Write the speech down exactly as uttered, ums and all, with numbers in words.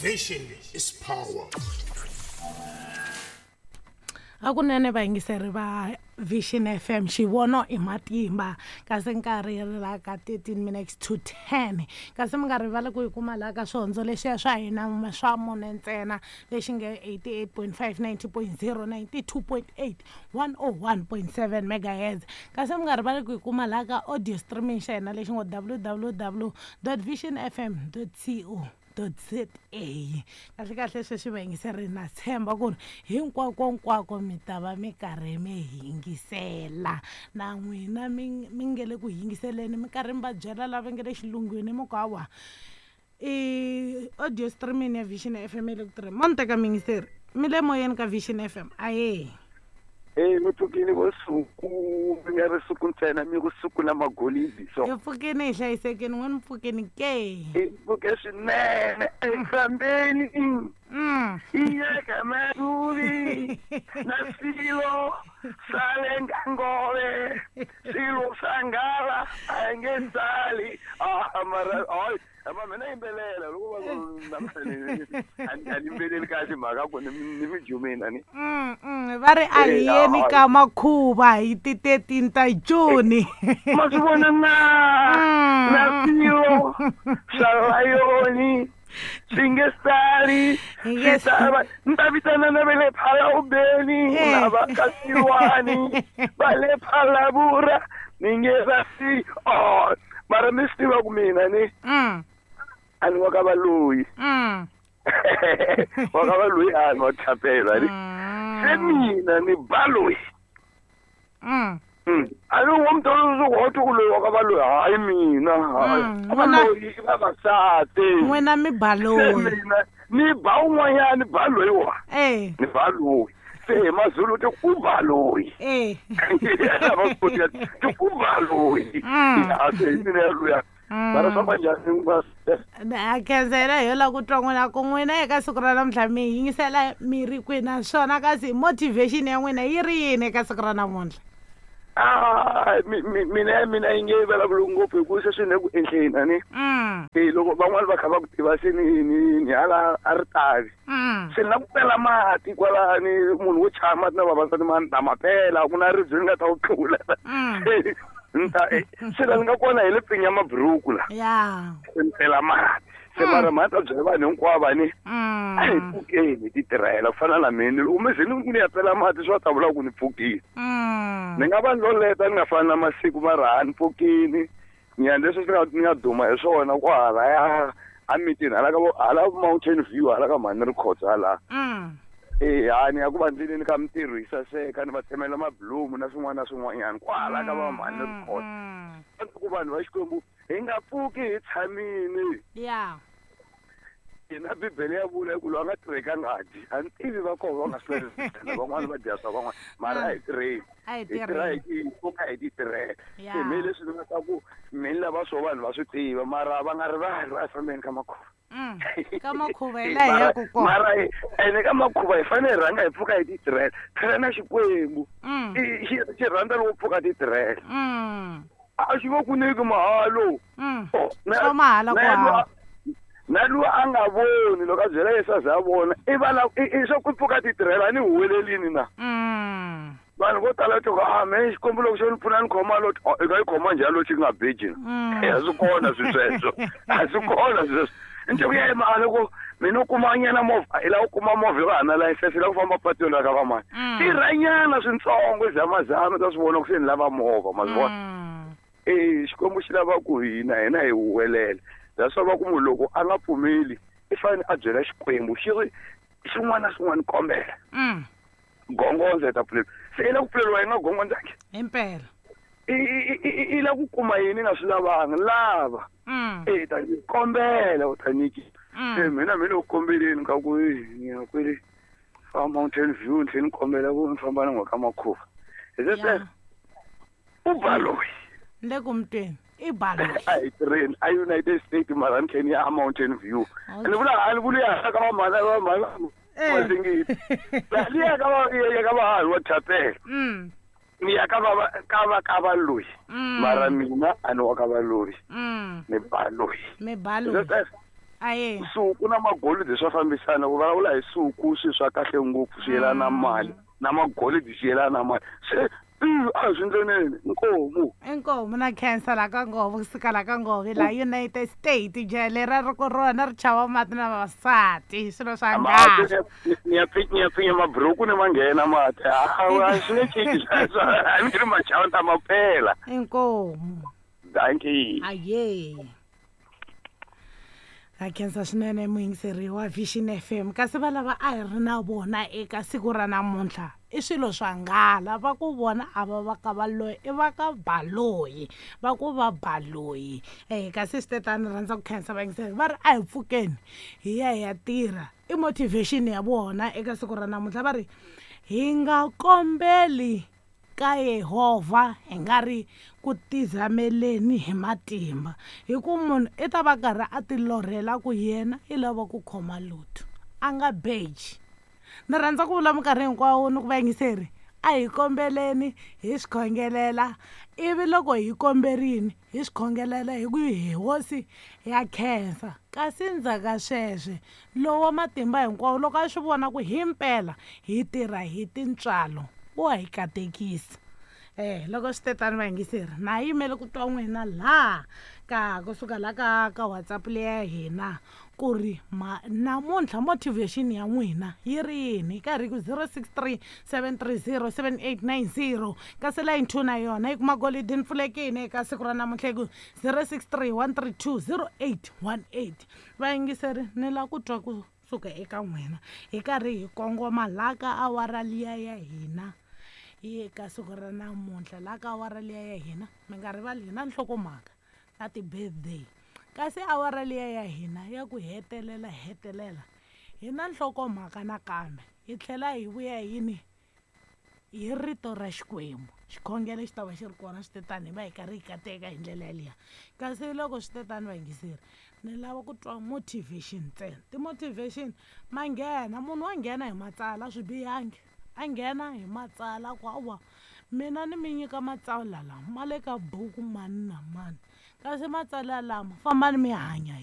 Vision is power. Hakunene vayingiseri va Vision F M xivono i matimba kasi nkarhi ri la ka thirteen minutes to ten kasi mi nga rivali ku yi kuma laha ka swihondzo lexiya swa hina swa mune ntsena lexi nge eighty-eight point five, ninety point zero, ninety-two point eight, one oh one point seven megahertz kasi mi nga rivali ku yi kuma laha ka audio streaming xa hina lexi ngo w w w dot vision f m dot co dot z a. Kahle kahle sweswi vayingiseri na tshemba ku ri hinkwako nkwako mi ta va mi karhi mi yingisela na n'wina mi mi nge le ku yingiseleni mi karhi mi va byela lava nge le xilungwini mi ku hawa i audio streaming ya Vision F M le ku tirheni mo ni teka miyingiseri mi le moyeni ka Vision F M aye. Eh mi pfukile vo suku mi nga ri suku ntsena mi ku suku na magolidi so hi pfukile hi hlayisekile n'wina mi pfukile ke hi pfuke swinene efambeni iyeka maduvi na swilo swa le ngangove swilo swa ngala a nge sali ah mara ay ama mina yimbelela loko va ku a ni yimbeleli kahle mhaka ku ni ni mi jumeni ani va ri a hi yeni ka makhuva hi ti thirteen ta June ma swi vona na na swilo swa layoni swi nge sali swi ta ni ta vitana na va le Phalawubeni na va ka Silwani va le Phalavura ni nge va si oh mara mi swi tiva ku mina ni a ni wa ka valoyi wa ka valoyi a ni wa thapela ni se mina ni baloyi a ni wo mutolo wo ku loyi wa ka valoyi hayi mina hayi valoyi i vavasati n'wina mi baloyi mina ni ba un'wanyani baloyi wa ni baloyi se hi mazulu ti ku baloyi va koti ti ku baloyi a se hi mina luya mara swa va njhani a khensela hi yo lava ku twa n'wina ku n'wina eka siku ra namuntlha mi yingisela mi ri kwihi naswona kasi motivation ya n'wina yi ri yini eka siku ra namuntlha? Ah mina mina yi nge vulavuli ngopfu hi ku sweswi ni le ku endleni a ni e loko van'wani va kha va ku tiva se ni ni ni hala a ri tavi se ni la ku pela mati kwalani munhu wo chaya mati na vavasati ma ni ta ma pela ku na ribye ni nga ta wu tlula ni ta se la ni nga kona hi le pfinya maburuku la se ni pela mati se mara mhani ta byela vanhu hinkwavo a ni a hi pfukeni hi ti tirhela ku fana na mina loko mi ze ni ni ya pela mati swi va ta vula ku ni pfukile ni nga va loleta ni nga fani na masiku mara a ni pfukini ni ya leswi swi nga ni nga duma hi swona ku halaya a mitini hala ka hala Mountain View hala ka mhani ri khotsa hala e ha ni ya ku va ndleleni ka mintirho yi saseka ni va tsemela mabilomu na swin'wana na swin'wanyana kwala ka va mhani ri khotsa ku vanhu va Xikwembu hi nga pfuki hi tshamile ya hina Bibele ya vula ku loyi a nga tirheki a nga dyi a ni tivi va kona va nga swi lavi van'wani va dya swa van'wana mara a hi tirheni hi tirha hi pfuka hi ti tirhela se me leswi ni nga ta ku me ni lava swo vanhu va swi tiva mara va nga rivali va fambeni ka makhuva ka makhuva hi laha hi yaku kona mara ene ka makhuva hi fanele hi rhanga hi pfuka hi ti tirhela phela na Xikwembu xi xi rhandza loko pfuka ti tirhela a xi vo ku nyiki mahalo swa mahala ku hava na luwa a nga voni loko a byela Yesu a za a vona i va la i swa ku pfuka ti tirhela ni huwelelini na vanhu vo tala to a me Xikwembu loko xo ni pfuna ni khoma lo i nga yi khoma njhani lo xi nga beji na a swi kona swi sweswo a swi kona swi sweswo ni ku ya emali ku mina u kuma nyana movha i lava ku kuma movha hi va hana layisense i lava ku famba patwini ra ka vamani tirhanyana swintsongo i zamazama ta swi vona ku se ni lava movha ma swi vona e Xikwembu xi lava ku hina hina hi huwelela that's why va ku munhu loko a nga pfumeli i fanele a byela Xikwembu xi ri xin'wana na xin'wana kombela gongondza hi ta pfuleriwa se i la ku pfuleriwa yi nga gongondzangi himpela i la ku kuma yini nga swi lavanga lava e ta kombela u ta nyiki se mina mi le ku kombeleni ka ku ni ya kwele fa Mountain View ni tlhela ni kombela ku ni famba na n'we ka makhuva hi se u baloyi ni le ku mi tweni i baloyi a hi tirheni a United States mara ni tlhela ni ya a Mountain View ni vula a ni vuli ya ka vamhana vamhana Mazingiti liya ka va ya ka va wa thapela ni ya ka va ka va ka valoyi mara mina a ni wa ka valoyi ni baloyi mi baloyi Aye. Suku na magolidi swa fambisana ku vulavula hi suku swi swa kahle ngopfu swi yelana na mali na magolidi swi yelana na mali se a swi ndleneni inkomu inkomu na khensa la ka nghovo kusuka la ka nghovo la United States jele ra ri ku rona ri chava mati na vavasati swilo swa ngati ni ya ni ya pfinya mabhuruku ni manghena mati a swi nge cinci sweswo a mi ri machava ta maphela inkomu dankie aye a khensa swinene muyingiseri wa Vision F M kasi va lava a hi ri na vona eka siku ra namuntlha i swilo swa nghala va ku vona a va va ka valoyi i va ka baloyi va ku va baloyi eh kasi swi tetani rhandza ku khensa vayingiseri va ri a hi pfukeni hi ya hi ya tirha i motivation ya vona eka siku ra namuntlha va ri hi nga kombeli ka Yehovha hi nga ri ku tizameleni hi matimba hi ku munhu i ta va karhi a ti lorhela ku yena i lava ku khoma lotto a nga beji ni rhandza ku vula minkarhi hinkwawo ni ku vayingiseri a hi kombeleni hi swi khongelela ivi loko hi komberini hi swi khongelela hi ku hi hosi ya khensa kasi ndzhaka sweswe lowa matimba hinkwawo loko a swi vona ku himpela hi tirha hi tintswalo wa hi katekisa eh loko swi tetani vayingiseri na yimele ku twa n'wina laha ka kusuka la ka ka WhatsApp leya hina ku ri ma namuntlha motivation ya n'wina yi ri yini karhi ku zero six three seven three zero seven eight nine zero kasi line two na yona yi kuma golidi ni pfulekile eka siku ra namuntlha hi ku zero six three one three two zero eight one eight vayingiseri ni lava ku twa kusuka eka n'wina hi karhi hi kongoma laha ka awara liya ya hina eka siku ra namuntlha laha ka awara liya ya hina mi nga rivali hina nhlokomhaka na ti-birthday kasi awara liya ya hina ya ku hetelela hetelela hi na nhlokomhaka nakambe hi tlhela hi vuya yini hi rito ra Xikwembu xikhongelo xi ta va xi ri kona swi tetani hi va hi karhi hi kateka hi ndlela yaliya kasi loko swi tetani vayingiseri ni lava ku twa motivation ntsena ti-motivation ma nghena munhu wa nghena hi matsala swi bihangi a nghena hi matsala ku awa mina ni mi nyika matsalwa lama ma le ka buku mani na mani kasi matsalwa lama fambani mi hanya.